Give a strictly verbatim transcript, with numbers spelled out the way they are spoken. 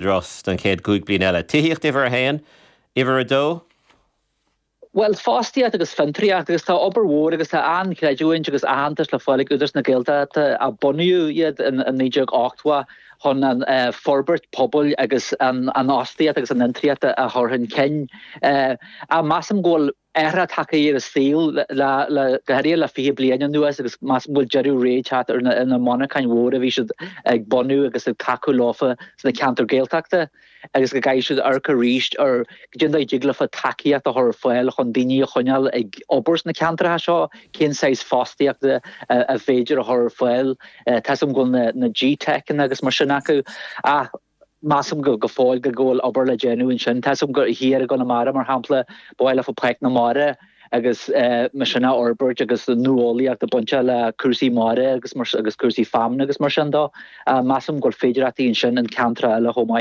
hÚdarás don chéad cúig bliana eile. Tithíocht uimhir a haon, uimhir a dó? Well fostaíocht agus fiontraíocht agus tá obair mhór agus tá an-chreidiúint agus aitheantas le fáil ag Údarás na Gaeltachta a bunaíodh iad in naoi déag ochtó chun an forbairt pobail agus an fhostaíocht agus an fhiontraíocht a chur chun cinn. Ach measaim go bhfuil athrú tagtha ar an saol le go háirithe le fiche bliain anuas agus measaim go bhfuil deireadh ré teacht ar na monarcháin mhóra a bhí siad ag bunú agus ag tacú leofa sna ceantair Gaeltachta agus go gcaithfidh siad amharc arís ar cén dóigh a dtig leofa tacaíocht a chur ar fáil chun daoine a choinneáil ag obair sna ceantracha seo, cén saghas fostaíochta a féidir a chur ar fáil. Tá 'fhios a'm go bhfuil na G-Techanna agus mar sin acu ach measaim go go fóill go bhfuil obair le déanamh ansin. Tá 'fhios a'm go thiar i gConamara mar shampla ba mhaith leofa Páirc na Mara agus mar sin a fhorbairt agus nuálaíocht a baint le cúrsaí mara agus mar agus cúrsaí feamainne agus mar sin dó. Measaim go bhfuil féidearthachtaí ansin in ceantracha eile chomh maith.